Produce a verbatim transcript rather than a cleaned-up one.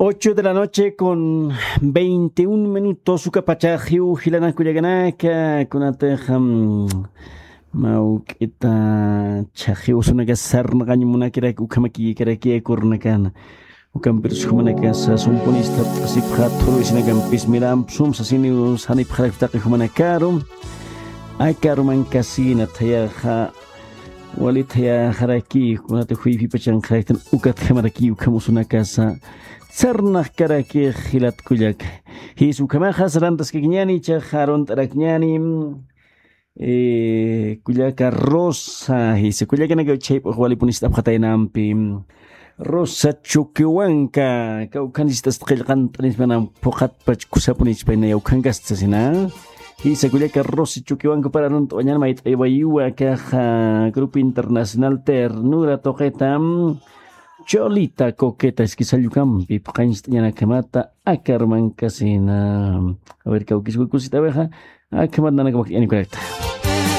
Ocho de la noche con veintiún minutos, ukapachaxiw jilanakullakanaka, kunatix, mm, mawk'ita chaxiw sunaka sarnaqañ munakirak ukhamakikarakiya kurnakana. Ukampirus jumanakasa sumpunista t'asipxa thuruysinakampis miramp sum sasiniw sanipxarak taqi jumanakaru. Aka arumankasina thayaxa wali thayaxaraki, kunata juypipachanxaraktan ukatjamaraki ukhamusunakasa sarnaqkaraki jilat kullaka. Jis ukhamaxa sarantaskakiñani, ichaxa arunt'arakñani. Eh, kullaka Rosa, jisa kullakanaka chayp'ux walipunist'apxataynampi. Rosa Chukiwanka, kawkhanist'asta qillqant'anismana phuqatpach kusapunichpaynaya ukhankastasina. Jisa kullaka Rosa Chukiwanka para arunt'awañan mayt'aywayuwa kaxa Grupo Internacional Ternura tuqitam. Cholita Coqueta, Esquizallucampi phuqañcht'añanakhamata aka arumankasina. A ver, kawkiswa kusit'awixa, akhamat nanakamak t'añakurakta.